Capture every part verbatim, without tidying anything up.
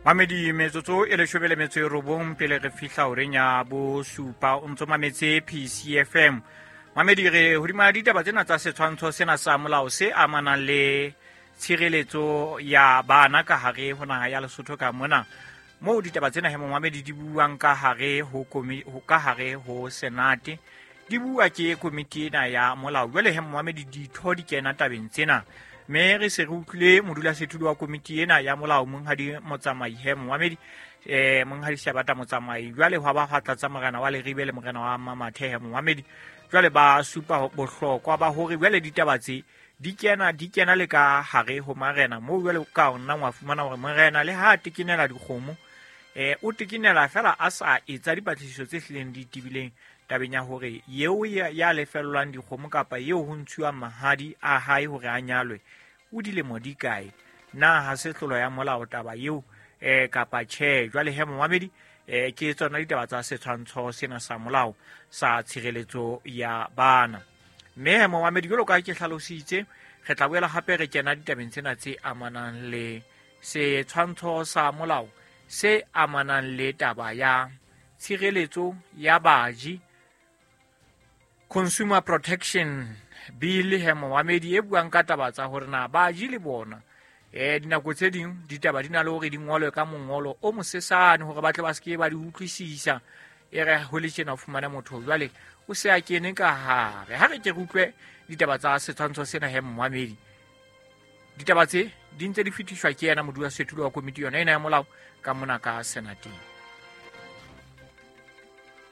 Mamedi metsotso e leshome le metso e robong pele re fihla horeng ya bosupa o ntso mametse P C F M. Mamedi re hodima ditaba tsena tsa setshwantsho sena sa molao se amanang le tshireletso ya bana ka hare ho naha ya Lesotho ka mona. Moo ditaba tsena he momamedi di buang ka hare ho komi, ho ka hare ho Senate. Di bua ke komiti ena ya molao. Jwale he momamedi ditho di kena tabeng tsena. Mme re se re utlwile modulasetulo wa komiti ena ya molao Monghadi Motsamai he momamedi, eh, Monghadi Shabata Motsamai. Jwale hwa ba hwa tlatsa morena wa Leribe le morena wa Mamathe he momamedi. Jwale ba supa bohlokwa ba hore jwale ditaba tse di kena, di kena le ka hare ho marena. Moo jwale ka nna wa fumana hore morena le ha a tekenela dikgomo, eh, o tekenela fela a sa etsa dipatlisiso tse hlileng di tebileng tabeng ya hore eo ya, ya lefellwang dikgomo kapa eo ho ntshuwang mahadi a hae hore a nyalwe o dilemo di kae, na ha se tlolo ya molao taba eo, eh, kapa tjhe. Jwale he momamedi, eh, ke tsona ditaba tsa setshwantsho sena sa molao sa tshireletso ya bana. Mme he momamedi, jwalo ka ha ke hlalositse, re tla boela hape re kena ditabeng tsena tse amanang le setshwantsho sa molao se amanang le taba ya tshireletso ya baji, Consumer Protection Bill he momamedi, e buang ka taba tsa hore na baji le bona, eh, dinako tse ding ditaba di na le hore di ngolwe ka mongolo o mosesane hore ba tle ba se ke ba di utlwisisa. E re ho le tjena o fumane motho jwale o se a kene ka hare. Ha re ke re utlwe ditaba tsa setshwantsho sena he momamedi. Ditaba tse di ntse di fetiswa ke yena modulasetulo wa komiti yona ena ya molao ka mona ka Senateng.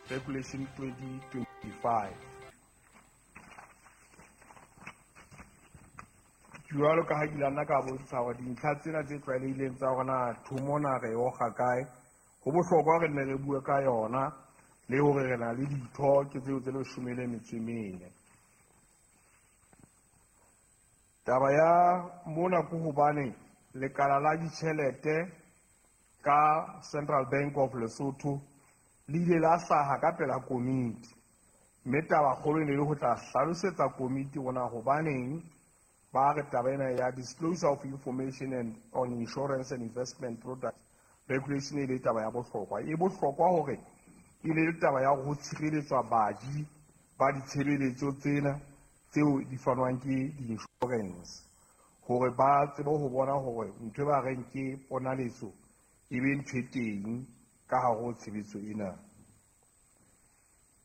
Regulation twenty twenty-five. Jwalo ka ha ke ile nna ka bontsha hore dintlha tsena tse tlwaelehileng tsa rona thomona re oga kae, ho bohlokwa re nne re bue ka yona le hore re na le ditho ke tseo tse leshome le metso e mene. Taba ya mona ke hobane lekala la ditjhelete ka Central Bank of Lesotho le ile la hlaha ka pela komiti, mme taba kgolo e ne le ho tla hlalosetsa komiti hore hobaneng ba re taba ena ya disclosure of information and on insurance and investment products regulation e le taba ya bohlokwa. E bohlokwa hore e le taba ya ho tshireletswa baji ba ditshebeletso tsena tseo di fanwang ke di-insurance, hore ba tsebe ho bona hore ntho e ba reng ke ponaletso e be ntho e teng ka hare ho tshebetso ena.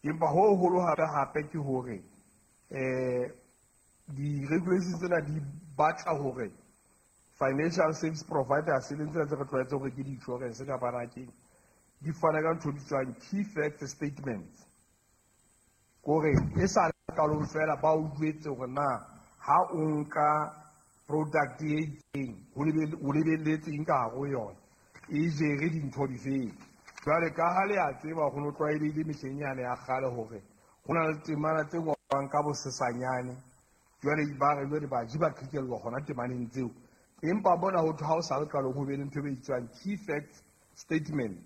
Empa ho hoholo hape hape ke hore, eh, di-regulations tsena di batla hore financial service providers, e leng tsena tse re tlwaetseng hore ke di-insurance kapa na keng, di fane ka ntho e bitswang key fact statements. Kore e sa le qalong fela ba o jwetse hore na ha o nka product e itseng, ho lebe-, o lebelletse eng ka hare ho yona, e jere dintho difeng. Jwale ka ha le a tseba ho no tlwaelehile mehleng yane ya kgale hore ho na le temana tse ngolwang ka bosesanyane, jwale ba re jwale baji ba qhekellwa hona temaneng tseo. Empa bona ho thwe ha o sa le qalong ho be le ntho e bitswang key fact statement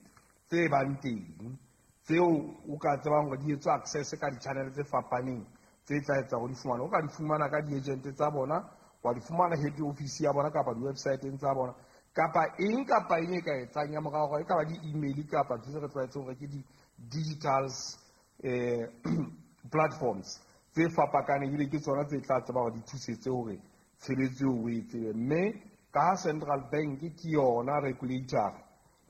tse bang teng, tseo o ka tsebang hore di etswa access ka di-channel tse fapaneng tse tla etsa hore di fumane. O ka di fumana ka di-agent tsa bona, wa di fumana head office ya bona kapa di-website-eng tsa bona, kapa eng kapa eng e ka etsang ya morao, e ka ba di-email kapa ntho tse re tlwaetseng hore ke di-digitals, eh, platforms tse fapakaneng, ebile ke tsona tse tla tseba hore di thusetse hore tshebetso eo o e tsebe. Mme ka ha Central Bank ke yona regulator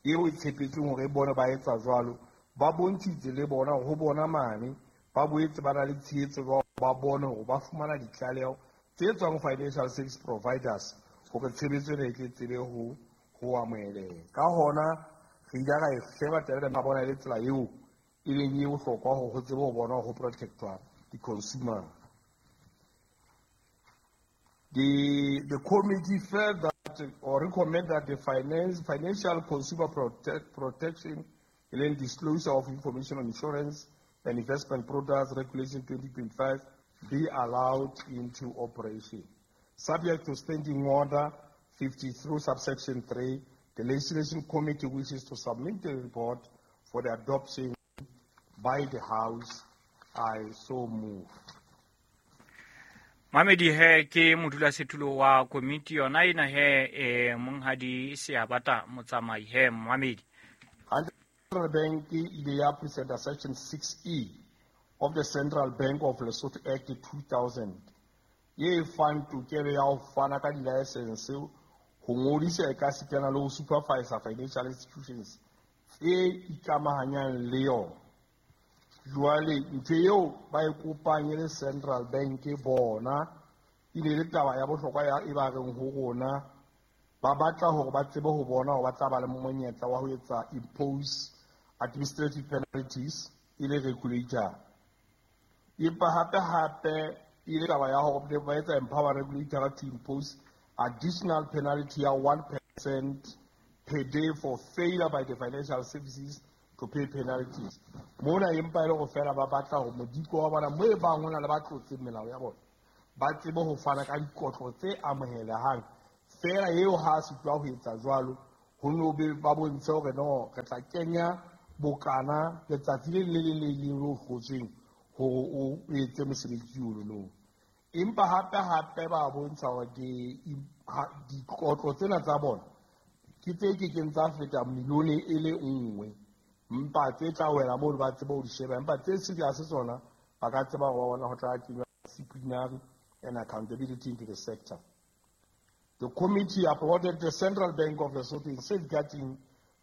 eo e tshepetsweng hore e bone ba etsa jwalo, ba bontshitse le bona ho bona mane, ba boetse ba na le tshehetso ba ba bone hore ba fumana ditlaleho tse tswang financial service providers hore tshebetso ena e tle tsebe ho, ho amoheleha. Ka hona re ile ra e sheba taba ena, ra bona e le tsela eo e leng e bohlokwa hore ho tsebe ho bona ho protectwa di-consumer. The, the committee felt that or recommend that the finance, financial consumer protect, protection and disclosure of information on insurance and investment products regulation twenty twenty-five be allowed into operation. Subject to standing order fifty through subsection three, the Legislation Committee wishes to submit the report for the adoption by the House. I so move. Mamedi he ke modulasetulo wa komiti yona ena he e monghadi Seabata Motsamai he Mamedi. Central Bank e ile ya presenta section six E of the Central Bank of Lesotho Act two thousand ye fang tokelo ya ho fana ka di-license ho ngodisa e ka sitana le ho supervise financial institutions tse ikamahanyang le yona. Jwale ntho eo ba e kopang e le Central Bank bona e ne le taba ya bohlokwa ya e ba reng ho rona ba batla hore ba tsebe ho bona hore ba tla ba le monyetla wa ho etsa impose administrative penalties e le regulator. Empa hape hape e le taba ya hore ba etsa empower regulator to impose additional penalty ya one percent per day for failure by the financial services to pay penalties. Mona empa e le go fela ba batla hore modiko wa bona mo e bang hona le ba tlotseng melao ya bona ba tsebe ho fana ka dikotlo tse amohelehang fela eo ha sitwa ho etsa jwalo ho no be ba bontshe hore no re tla kenya bokana letsatsi le le le le leng lo hlotsweng hore o etse mosebetsi ono no. Empa hape hape ba bontsha hore dikotlo tsena tsa bona ke tse kekeng tsa feta milione e le nngwe mpa tse tla wela moo ba tsebe ho di sheba empa tse serious tsona ba ka tseba hore ba bona ho tla kenywa disciplinary and accountability into the sector. The committee applauded the Central Bank of Lesotho in safeguarding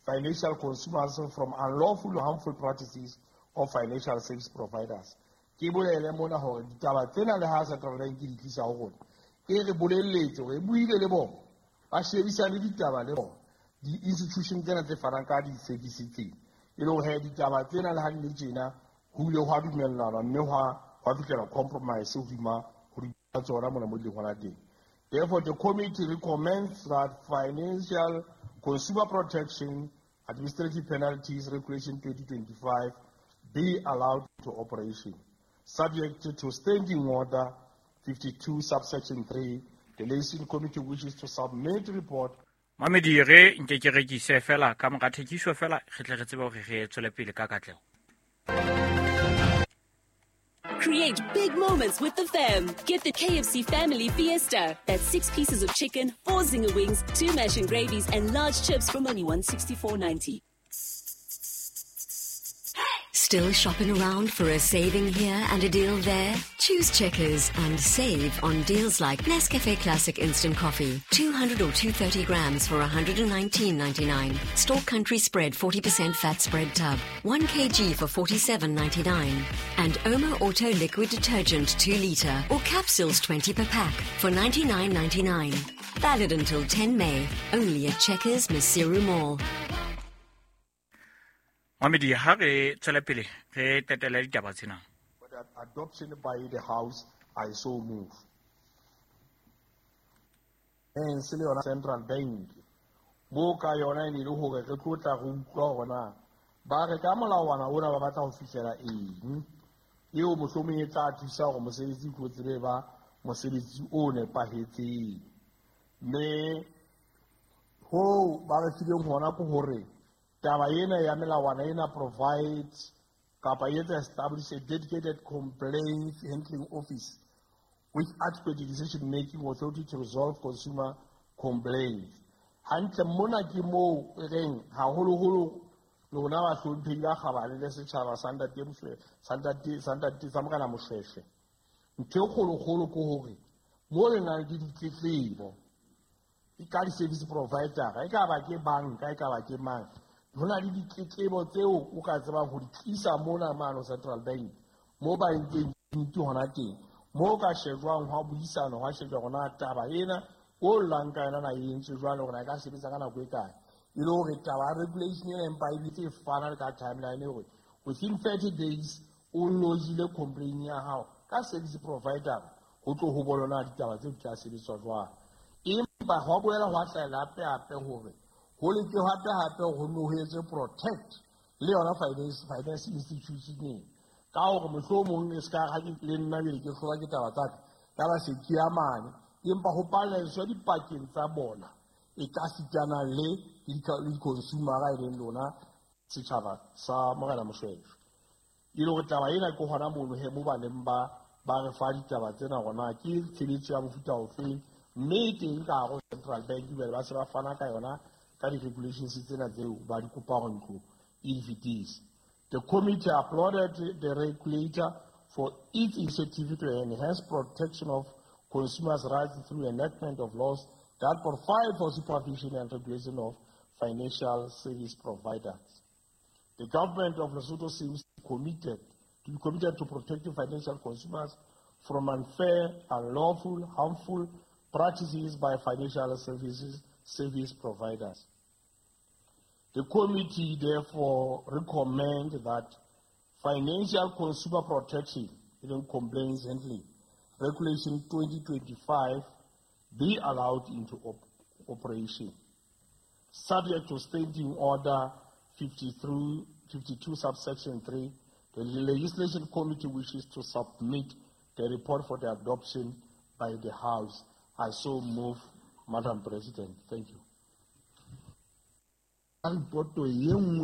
financial consumers from unlawful or harmful practices of financial service providers. Ke bolele mona hore ditaba tsena le ha Central Bank di tlisa ho rona e re bolelletse hore e buile le bona ba shebisane ditaba le bona di-institution tsena tse fanang ka di-service tsena e le hore ditaba tsena le ha di le tjena ho ile hwa dumellana mme hwa hwa fihlela compromise hodima ho tsona mona mo di leng hona teng. Therefore, the committee recommends that Financial Consumer Protection Administrative Penalties Regulation twenty twenty-five be allowed to operation, subject to Standing Order fifty-two, subsection three. The Liaison Committee wishes to submit report. Mamedi re nke ke rekise fela ka mora thekiso fela re tle re tsebe hore re tswele pele ka katleho. Create big moments with the fam. Get the K F C Family Fiesta. That's six pieces of chicken, four zinger wings, two mash and gravies, and large chips from only one sixty-four ninety. Still shopping around for a saving here and a deal there? Choose Checkers and save on deals like Nescafe Classic Instant Coffee, two hundred or two hundred thirty grams for one hundred nineteen ninety-nine. Store Country Spread forty percent fat spread tub, one kilogram for forty-seven ninety-nine. And Omo Auto Liquid Detergent two litre or capsules twenty per pack for ninety-nine ninety-nine. Valid until ten May, only at Checkers Maseru Mall. Mamedi ha re tswele pele re tetele ditaba tsena. Adoption by the House, I so move. Se le yona Central Bank mo ka yona e ne le hore re tlo tla re utlwa hore na ba re ka molawana ona ba batla ho fihlela eng eo mohlomong e tla thusa hore mosebetsi o tlo tsebe ba mosebetsi o nepahetseng. Mme ho ba re fileng hona ke hore taba ena ya melawana ena provides kapa e etsa establish a dedicated complaints handling office with adequate decision making authority to resolve consumer complaints. Hantle mona ke moo e reng haholoholo lona bahlomphehi ba kgabane le setjhaba sa ntate Moshweshwe, sa ntate, sa ntate, sa Morena Moshweshwe. Ntho e kgolokgolo ke hore mo le nang le ditletlebo e ka di-service provider, e ka ba ke banka, e ka ba ke mang, ho na le ditletlebo tseo o ka tsebang ho di tlisa mona mano Central Bank mo ba entseng ntho hona teng mo ka shejwang hwa buisana hwa shejwa hona taba ena o llang ka yona na e entswe jwang hore na e ka sebetsa ka nako e kae e le hore taba ya regulation ena empa e bile e fana le ka timeline hore within thirty days o lodgile complaint ya hao ka service provider ho tlo ho bona ditaba tseo di tla sebetswa jwang. Empa hwa boela hwa hlahela hape hape hore ho leke hape hape ho no ho etswe protect le yona finance finance institution ena ka hore mohlomong e ska ha ke le nna jwale ke hlola ke taba tsa ka ka ba se ke ya mane empa ho paleswa dipakeng tsa bona e ka sitana le di-consumer e leng lona setjhaba sa Morena Moshweshwe. E le hore taba ena ke hona mono he mo ba neng ba ba re fa ditaba tsena hore na ke tshebetso ya mofuta ofeng, mme e teng ka hare ho Central Bank jwale ba se ba fana ka yona ka di-regulations tsena tseo ba di kopa hore ntlo e di fetise. The committee applauded the regulator for its initiative to enhance protection of consumers' rights through enactment of laws that provide for supervision and regulation of financial service providers. The government of Lesotho seems committed to be committed to protecting financial consumers from unfair, unlawful, harmful practices by financial services service providers. The committee therefore recommend that Financial Consumer Protection, even Complaints Handling, Regulation twenty twenty-five be allowed into op- operation, subject to Standing Order fifty-three, fifty-two, subsection three. The Legislation Committee wishes to submit the report for the adoption by the House. I so move, Madam President. Thank you. Reporto ye nngwe.